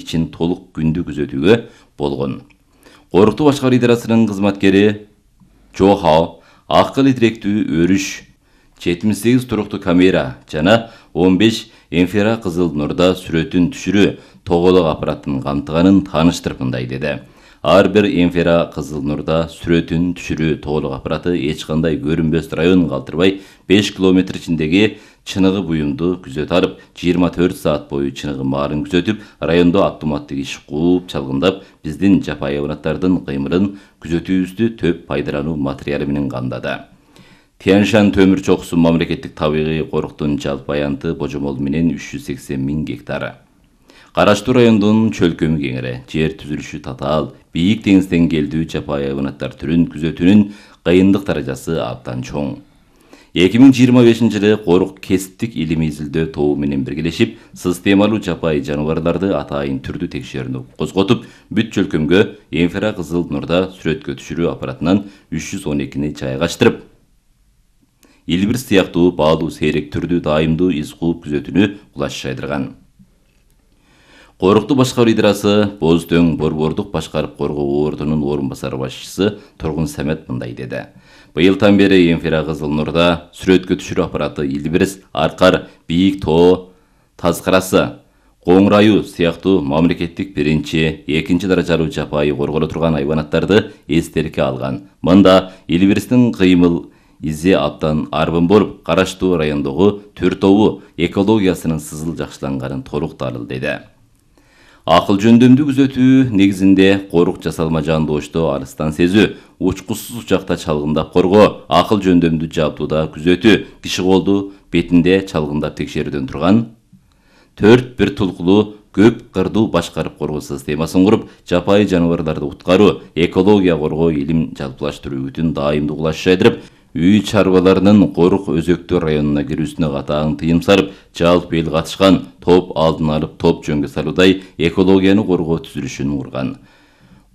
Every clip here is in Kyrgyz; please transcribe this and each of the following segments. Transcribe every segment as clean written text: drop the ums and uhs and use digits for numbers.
ичин толук күндү күзөтүүгө болгон. Корукту башкаруу идарасынын кызматкери Джо Хао акыл директүү өрүш, 78 туруктуу камера жана 15 инфракызыл нурда сүрөтүн түшүрүү тоголок аппаратын камтыганын тааныштырып мындай деди. Ар бир инфракызыл нурда сүрөтүн түшүрүү тоголок аппараты эч кандай көрүнбөс район калтырбай 5 километр ичиндеги чыныгы буюмду күзөтө алып, 24 саат бою чыныгы маарын күзөтүп, райондо автоматтык иш кууп чалгындап, биздин жапайы hayvanаттардын кыймылын күзөтүүбүздү төп пайдалануу материалы менен камдады. Тянь-Шань төмүр чокусу мамлекеттик табигый коруктун жалпы аянты божомол менен 380 000 гектар. Караштуу райондун чөлкөмү кеңири, жер түзүлүшү татаал, бийик деңиз деңгээлдүү жапайы hayvanаттар түрүн күзөтүүнүн кыйындык даражасы абдан чоң. 2025 жылы корук кесиптик илимий изилдөө тобу менен биргелешип, системалуу жапайы жаныбарларды атайын түрдүү текшерүүнү козготуп, бүт чөлкөмгө инфракызыл нурда сүрөткө түшүрүү аппаратынан 312 жайгаштырып, Илбирс сыяктуу баалуу сейрек түрдүү дайымдуу из кууп күзөтүүнү кулаш жайдырган. Корукту башкаруу идарасы Боз Дөң борбордук башкарып коргоо ордунун орун басары башчысы Тургун Самет мындай деди. Быйылдан бери инфракызыл нурда сүрөткө түшүрүү аппараты Илбирс, Аркар, Бийик Тоо, Тазкарасы, Коңрайуу сыяктуу мамлекеттик биринчи, экинчи даражалуу жапайы корголо турган hayvanаттарды эстерикке алган. Мында Илбирстин кыймыл изи абдан арбын болуп, караштуу райондогу Төртову экологиясынын сызыл жакшыланганын толук далил деди. Акыл жөндөмдүү күзөтүү негизинде корук жасалма жандоошто алыстан сезүү, учкусуз учакта чалгындап коргоо, акыл жөндөмдүү жабдууда күзөтүү, киши колду бетинде чалгындап текшерүүдөн турган 4 бир тулкулуу көп кырдуу башкарып коргоо системасын куруп, жапайы жаныбарларды уткаруу, экология коргоо илим жалпылаштыруу бүтүн дайымдуу кулаш жайдырып, үй чарбаларынын корук өзөктүү районуна кирүүсүнө катаң тыйым салып, жалпы эл катышкан топ алдын алып топ жөнгө салуудай экологияны коргоо түзүлүшүн курган.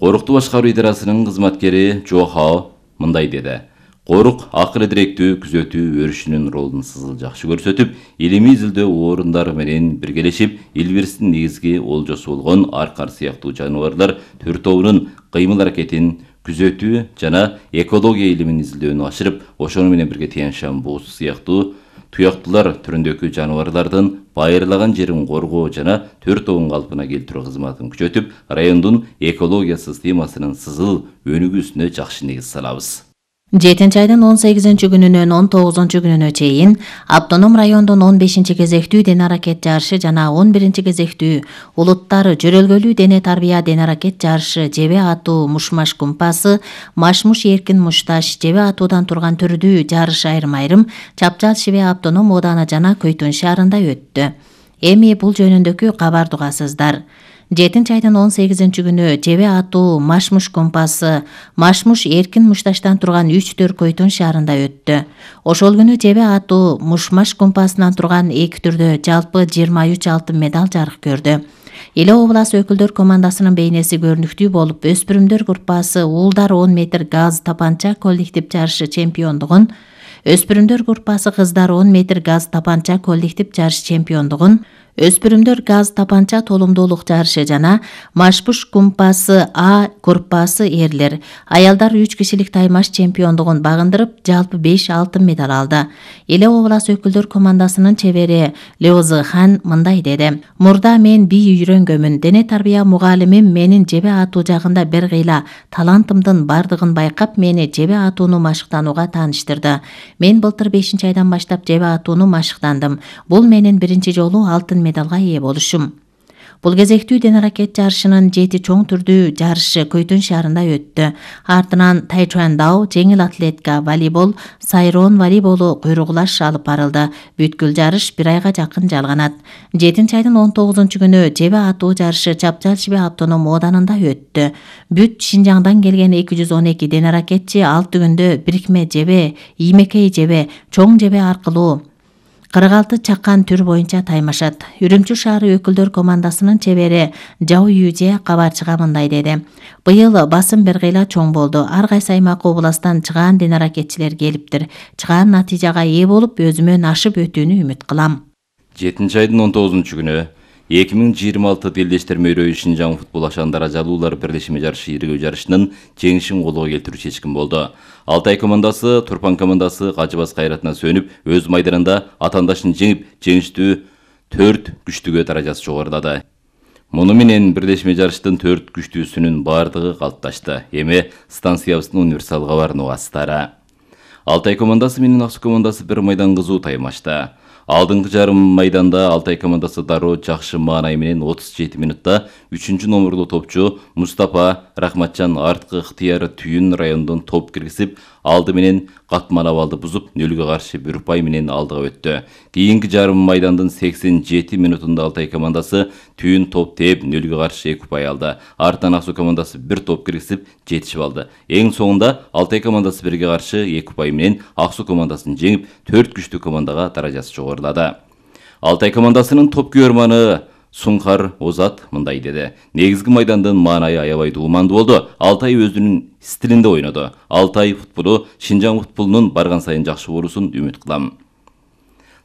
Корукту башкаруу идарасынын кызматкери Джо Хао мындай деди. Корук акыл директүү күзөтүү өрүшүнүн ролун сызыл жакшы көрсөтүп, илимий изилдөө орундары менен биргелешип, Илбирстин негизги олжосу болгон Аркар сыяктуу жаныбарлар Төртовунун кыймыл аракетин күзөтүү жана экология илимин изилдөөнү ашырып, ошону менен бирге Тянь-Шань боосу сыяктуу туяктуулар түрүндөгү жаныбарлардын байырлаган жерин коргоо жана Төртовун калпына келтирүү кызматын күчөтүп, райондун экология системасынын сызыл өнүгүүсүнө жакшы негиз салабыз. 7-айдын 18-күнүнөн 19-күнүнө чейин автоном райондун 15-кезектүү дене аракет жарышы жана 11-кезектүү улуттар жөрөлгөлүү дене тарбия дене аракет жарышы жебе атуу мушмаш кумпасы, машмуш эркин мушташ жебе атуудан турган түрдүү жарыш айрым-айрым Чапчал Шибе автоном ооданы жана Көйтөн шаарында өттү. Эми бул жөнүндөгү кабарды угасыздар. 7-айдын 18-күнү жебе атуу машмуш кумпасы, машмуш эркин мушташтан турган 3-4 Көйтөн шаарында өттү. Ошол күнү жебе атуу мушмаш кумпасынан турган 2 түрдө жалпы 23 алтын медаль жарык көрдү. Эле облас өкүлдөр командасынын бейнеси көрүнүктүү болуп, өспүрүмдөр группасы уулдар 10 метр газ тапанча коллектив жарышы чемпиондугун, өспүрүмдөр группасы кыздар 10 метр газ тапанча коллектив жарыш чемпиондугун, өспүрүмдөр газ тапанча толумдуулук жарышы жана машмуш кумпасы А группасы эрлер, аялдар 3 кишилик таймаш чемпиондугун багындырып, жалпы 5 алтын медаль алды. Эле облас өкүлдөр командасынын чебери Леозы Хан мындай деди. Мурда мен бий үйрөнгөмүн, дене тарбия мугалимим менин жебе атуу жагында бир кыйла талантымдын бардыгын байкап, мени жебе атууну машыктанууга тааныштырды. Мен былтыр 5-айдан баштап жебе атууну машыктандым. Бул менин биринчи жолу алтын медалга ээ болушум. Бул кезектүү дене аракет жарышынын 7 чоң түрдүү жарышы Көйтөн шаарында өттү. Артынан тайчуандао, жеңил атлетика, волейбол, сайрон волейболу куйругулаш алып барылды. Бүткүл жарыш 1 айга жакын жалганат. 7-айдын 19-күнү жебе атуу жарышы Чапчал Шибе автоном ооданында өттү. Бүт Шинжаңдан келген 212 дене аракетчи 6 күндө бирикме жебе, иймекей жебе, чоң жебе аркылуу 46 чакан түр боюнча таймашат. Үрүмчү шаары өкүлдөр командасынын чебери Жау Юже кабарчыга мындай деди. Быйыл басым бир кыйла чоң болду. Ар кайсы аймак областан чыгаан дене аракетчилер келиптир. Чыгаан натыйжага ээ болуп, өзүмөн ашып өтүүнү үмүт кылам. 7-айдын 19-күнү 2026 Делдештер мөйрөйү Шинжаң футбол ашандары ажалуулар бирлешме жарышы иргөө жарышынын жеңишин колго келтирүү чечкин болду. Алтай командасы Турпан командасы Кажыбас кайратына сөнүп, өз майданында атаандашын жеңип, жеңиштүү 4 күчтүүгө даражасы жогорулады. Муну менен бирлешме жарыштын 4 күчтүүсүнүн бардыгы калыпташты. Эми станциябыздын универсал кабарын угасыздар. Алтай командасы менен Аксу командасы бир майдан кызуу таймашты. Алдыңкы жарым майданда Алтай командасы дароо жакшы маанай менен 37 минутта 3 номерлуу топчу Мустапа Рахматжан арткы ыктыяры Түйүн районунан топ киргизип, алды менен катман абалды бузуп, 0-га каршы 1 упай менен алдыга өттү. Кийинки жарым майдандын 87 минутунда Алтай командасы Түйүн топ тээп 0-га каршы 2 упай алды. Артынан Аксу командасы 1 топ киргизип, жетишип алды. Эң соңунда Алтай командасы 1-ге каршы 2 упай менен Аксу командасын жеңип, 4 күчтүү командага даражасы жогорулады. Алтай командасынын топ күйөрманы Сункар Озат мындай деди. Негизги майдандын маанайы аябай дуумандуу болду. Алтай өзүнүн стилинде ойноду. Алтай футболу Шинжаң футболунун барган сайын жакшы болуусун үмүт кылам.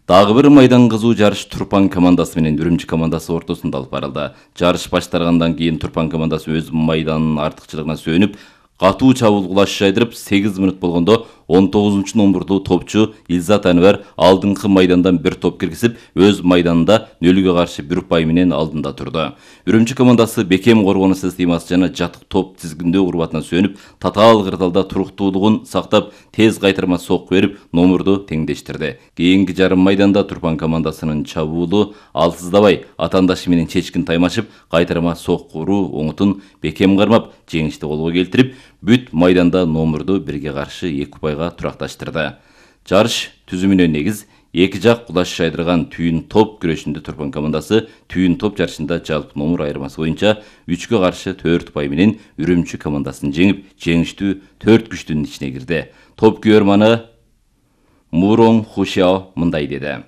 Дагы бир майдан кызуу жарыш Турпан командасы менен Үрүмчү командасы ортосунда алып барылды. Жарыш башталгандан кийин Турпан командасы өз майданынын артыкчылыгына сүйөнүп, катуу чабуул кулаш жайдырып, 8 минут болгондо 19 номерлуу топчу Илзат Анвар алдыңкы майдандан 1 топ киргизип, өз майданында 0-га каршы 1 упай менен алдында турду. Үрүмчү командасы бекем коргонуу системасы жана жатык топ тизгиндөө урбатына сүйөнүп, татаал кырдаалда туруктуулугун сактап, тез кайтарма сокку берип, номерду теңдештирди. Кийинки жарым майданда Турпан командасынын чабуулу алсыздабай, атаандашы менен чечкин таймашып, кайтарма сокку уруу оңутун бекем кармап, жеңишти колго келтирип, бүт майданда номерду 1-ге каршы 2 упайга туракташтырды. Жарыш түзүмүнө негиз 2 жак кулаш жайдырган Түйүн топ күрөшүндө Турпан командасы Түйүн топ жарышында жалпы номер айырмасы боюнча 3-ге каршы 4 упай менен Үрүмчү командасын жеңип, жеңиштүү 4 күчтүүнүн ичине кирди. Топ күйөрманы Мурон Хушао мындай деди.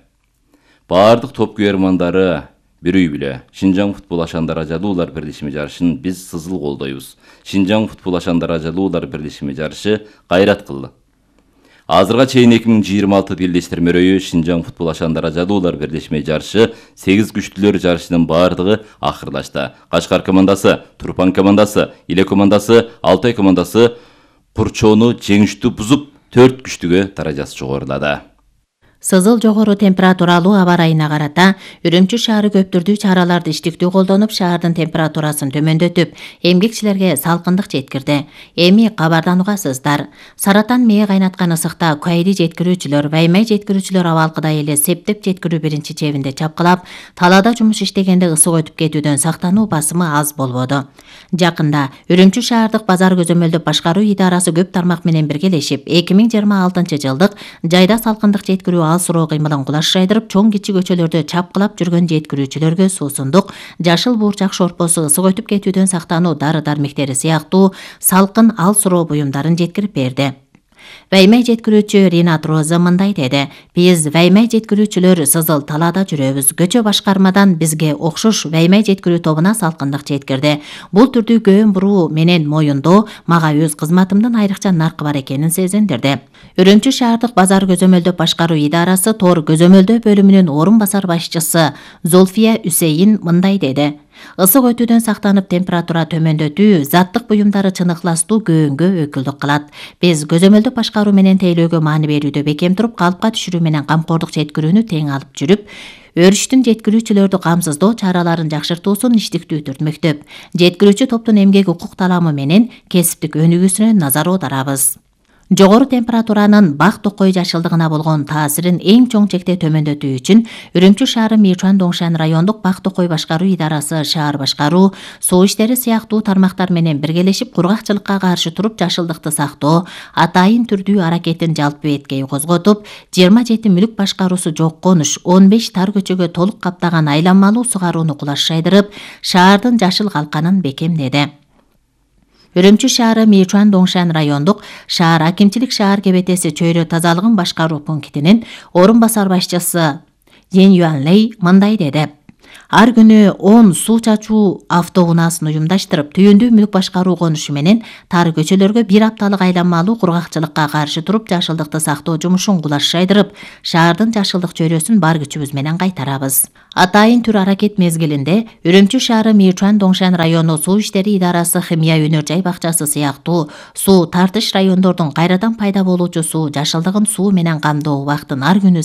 Бардык топ күйөрмандары бир үй биле. Шинжаң футбол ашандары ажалуулар бирлешме жарышын биз сызыл колдойбуз. Шинжаң футбол ашандары ажалуулар бирлешме жарышы кайрат кылды. Азырга чейин 2026 Делдештер мөйрөйү Шинжаң футбол ашандары ажалуулар бирлешме жарышы 8 күчтүүлөр жарышынын бардыгы акырлашты. Кашкар командасы, Турпан командасы, Иле командасы, Алтай командасы Курчоону жеңиштүү бузуп, 4 күчтүүгө даражасы жогорулады. Сызыл жогору температуралуу аба ырайына карата Үрүмчү шаары көп түрдүү чараларды иштиктүү колдонуп, шаардын температурасын төмөндөтүп, эмгекчилерге салкындык жеткирди. Эми кабардан угасыздар. Саратан мээ кайнаткан ысыкта кайри жеткирүүчүлөр, ваймай жеткирүүчүлөр абалкыдай эле септеп жеткирүү биринчи чебинде чапкылап, талаада жумуш иштегенде ысык өтүп кетүүдөн сактануу басымы аз болбоду. Жакында Үрүмчү шаардык базар көзөмөлдөп башкаруу идарасы көп тармак менен биргелешип, 2026 жылдык жайда салкындык жеткирүү ал суроо кыймылын кулаш жайдырып, чоң кичи көчөлөрдө чапкылап жүргөн жеткирүүчүлөргө суусундук, жашыл буурчак шорпосу, ысык өтүп кетүүдөн сактануу дары-дармектери сыяктуу салкын ал суроо буюмдарын жеткирип берди. Ваймай жеткирүүчү Ринат Роза мындай деди. Биз ваймай жеткирүүчүлөр сызыл талаада жүрөбүз. Көчө башкармадан бизге окшош ваймай жеткирүү тобуна салкындык жеткирди. Бул түрдүү көөн буруу менен моюндоо мага өз кызматымдын айрыкча наркы бар экенин сезиндирди. Үрүмчү шаардык базар көзөмөлдөп башкаруу идарасы тор көзөмөлдөө бөлүмүнүн орун басар башчысы Золфия Үсейин мындай деди. Ысык өтүүдөн сактанып, температура төмөндөтүү заттык буюмдары чыныктастуу көөнгө өкүлдүк кылат. Биз көзөмөлдөп башкаруу менен тейлөөгө маани берүүдө бекем туруп, калыпка түшүрүү менен камкордук жеткирүүнү тең алып жүрүп, өрүштүн жеткирүүчүлөрдү камсыздоо чараларын жакшыртуусун иштиктүү түртмөктөп, жеткирүүчү топтун эмгек укук таламы менен кесиптик өнүгүүсүнө назар аударабыз. Жогору температуранын бак токой жашылдыгына болгон таасирин эң чоң чекте төмөндөтүү үчүн Үрүмчү шаары Мичуан Доңшан райондук бак токой башкаруу идарасы, шаар башкаруу, суу иштери сыяктуу тармактар менен биргелешип, кургакчылыкка каршы туруп жашылдыкты сактоо, атайын түрдүү аракетин жалпы беткей козготуп, 27 мүлүк башкаруусу жок конуш, 15 тар көчөгө толук каптаган айланмалуу сугарууну кулаш жайдырып, шаардын жашыл калканын бекемдеди. Үрүмчү шаары Мичуан Доңшан райондук шаар акимчилик шаар кебетеси чөйрө тазалыгын башкаруу пунктинин орун басар башчысы Ен Юанлей мындай деди. Ар күнү 10 суу чачуу автоунаасын уюмдаштырып, түйүндүү мүлк башкаруу конушу менен тар көчөлөргө бир апталык айланмалуу кургакчылыкка каршы туруп, жашылдыкты сактоо жумушун кулаш жайдырып, шаардын жашылдык чөйрөсүн бар күчүбүз менен кайтарабыз. Атайын түр аракет мезгилинде Үрүмчү шаары Мичуан Доңшан району суу иштери идарасы Химия өнөр жай бакчасы сыяктуу суу тартыш райондордун кайрадан пайда болуучу суу жашылдыгын суу менен камдоо убактын ар күнү